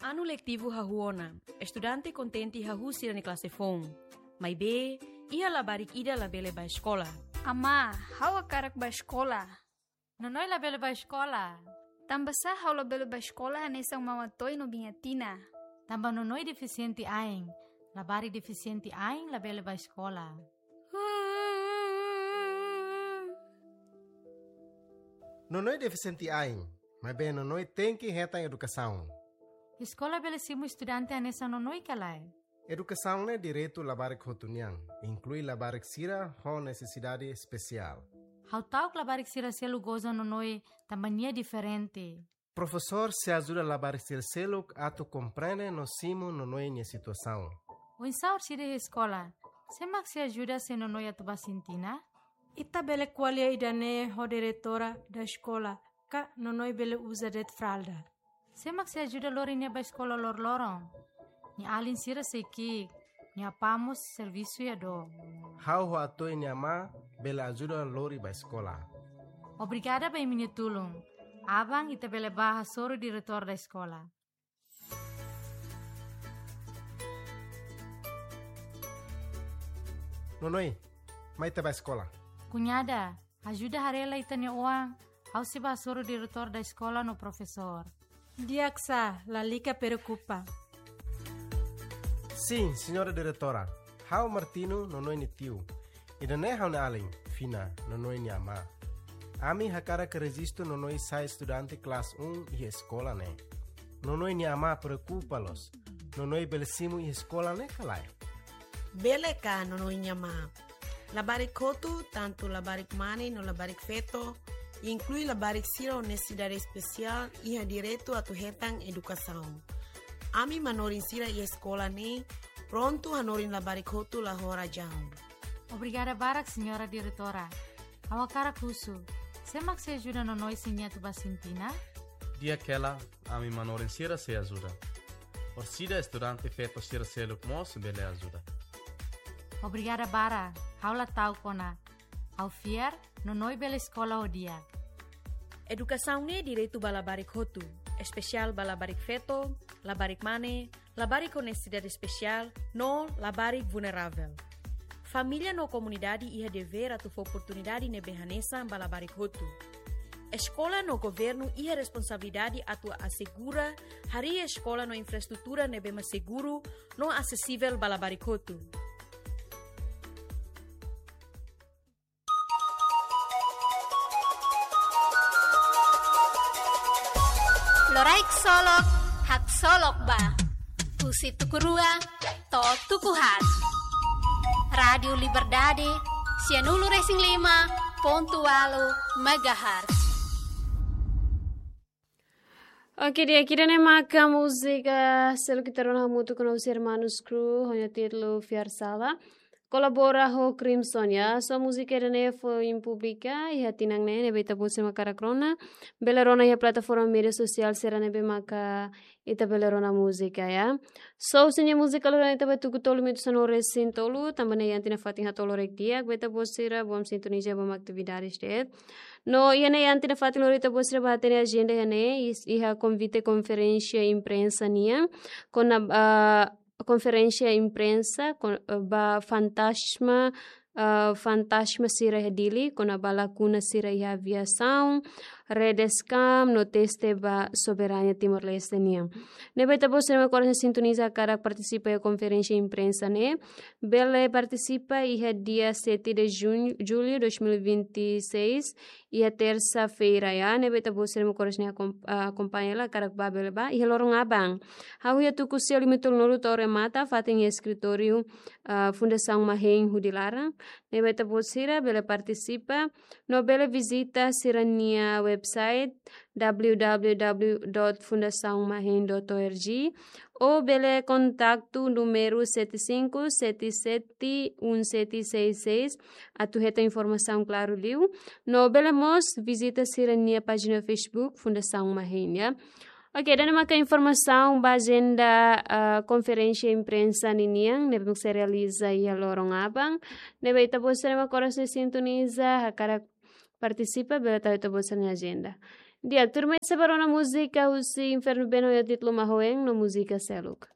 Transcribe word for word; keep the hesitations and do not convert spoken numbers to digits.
Anu letivu hahú ona, estudante kontente hahú sira-nia klase foun. Maibé, iha labarik ida labele bá eskola. Amá, ha'u hakarak bá eskola. Nonoi labele bá eskola. Tanbasá ha'u labele bá eskola hanesan Mama Toy no Biña Tina? Tanba Nonoi defisiente ain. Labarik defisiente ain labele bá eskola. Nonoi defisiente ain, maibé Nonoi tenke hetan edukasaun. Eskola bele simu estudante hanesan Nonoi ka lae? Edukasaun ne'e direitu labarik hotu nian, inklui labarik sira ho nesesidade espesiál. Ha'u ta'uk labarik sira seluk goza Nonoi tanba nia diferente. Profesór sei ajuda labarik sira seluk atu komprende no simu Nonoi nia situasaun. Oinsá orsida iha eskola, sé mak sei ajuda se Nonoi atu bá sintina? Ita bele ko'alia ida-ne'e ho diretora da eskola, ka Nonoi bele uza de'it fralda. Sé mak sei ajuda lori nia bá eskola loroloron? Nia alin sira sei ki'ik, nia apá mós servisu iha dook. Ha'u ho Atoy nia amá bele ajuda lori bá eskola. Obrigada ba imi-nia tulun. Aban ita bele bá hasoru diretór da eskola. Nonoi, mai ita bá eskola. Kuñada, ajuda haree lai ita-nia oan, ha'u sei bá hasoru diretór da eskola no profesór. Di'ak sá, lalika preokupa. Sin, señora diretora, ha'u Martino, Nonoi nia tiu. Ida-ne'e ha'u-nia alin, Fina, Nonoi nia amá. Ami hakarak rejistu Nonoi sai estudante klase um iha eskola ne'e. Nonoi nia amá preokupa loos. Nonoi bele simu iha eskola ne'e ka lae? Bele ka, Nonoi nia amá. Labarik hotu, tantu labarik mane no labarik feto, inklui labarik sira ho nesesidade espesiál, iha direitu atu hetan edukasaun. Ami manorin sira iha eskola ne'e prontu hanorin labarik hotu la ho razaun. Obrigada barak, señora diretora. Ha'u hakarak husu, sé mak sei ajuda Nonoi se nia atu bá sintina? Di'ak hela, ami manorin sira sei ajuda. Orsida estudante feto sira seluk mós bele ajuda. Obrigada barak, ha'u la ta'uk ona. Ha'u fiar, Nonoi bele eskola ho di'ak. Edukasaun ne'e direitu ba labarik hotu, espesiál ba labarik feto, labarik mane, labarik ho nesesidade espesiál, no labarik vulneravel. Família no komunidade iha devér atu fó oportunidade ne'ebé hanesan ba labarik hotu. Eskola no governu iha responsabilidade atu asegura harii eskola no infraestrutura ne'ebé mak seguru no asesivel ba labarik hotu. Loraik solok, haksolok ba. Husi tuku rua to'o tuku haat. Rádiu Liberdade, sianulu resin lima pontu ualu megahertz. Oke, di'ak, ida-ne'e maka múzika seluk ita rona hamutuk ho nossos irmãos Crew, ho nia títulu Fiar Sala. Kolabora ho Crimson, ya. So múzika ida-ne'e foin publika iha tinan ne'e, ne'ebé ita-boot sira mak hakarak rona, bele rona iha plataforma média sosiál sira ne'ebé maka ita bele rona múzika, ya. So, husi nia múzika loron ita bá tuku tolu minutu sanulu resin tolu, tanba ne'e iha tinan fatin haat loron di'ak, ba ita-boot sira, bom sintoniza, bom atividade de'it. No, iha ne'e iha tinan fatin loron ita-boot sira bá hatene ajenda iha ne'e, is-, iha konvite konferénsia imprensa nian, kona, ah, konferénsia imprensa, kon-, eh, ba fantasma, eh, fantasma sira iha Dili, kona-ba lakuna sira iha aviasaun, rede scam, no teste ba soberania Timor-Leste nian. Ne'ebé ita-boot sira mak oras ne'e sintoniza hakarak partisipa iha konferénsia imprensa ne'e, bele partisipa iha dia sete de junho, julho dois mil e vinte e seis, iha tersa-feira, ya, ne'ebé ita-boot sira mak oras ne'e akom-, ah, akompaña hela, hakarak bá bele bá, iha loron aban. Hahú iha tuku sia limitulnulu to'o remata, fatin iha eskritóriu, ah, Fundasaun Mahein hudi laran, ne'ebé ita-boot sira bele partisipa, no bele vizita sira-nia website w w w dot fundasaun mahein dot o r g, ou bele kontaktu númeru sete cinco sete sete um sete seis seis, atu hetan informasaun klaru liu, no bele mós vizita sira-nia pájina Facebook Fundasaun Mahein, ya. Oke, ida-ne'e maka informasaun ba ajenda, ah, konferénsia imprensa ninian, ne'ebé mak sei realiza iha loron aban, ne'ebé ita-boot sira mak oras ne'e sintoniza, hakarak partisipa, bele tau ita-boot sira-nia ajenda. Di'ak, tuirmai ita sei ba rona múzika husi Inferno Been ho títulu Mahoen no múzika seluk.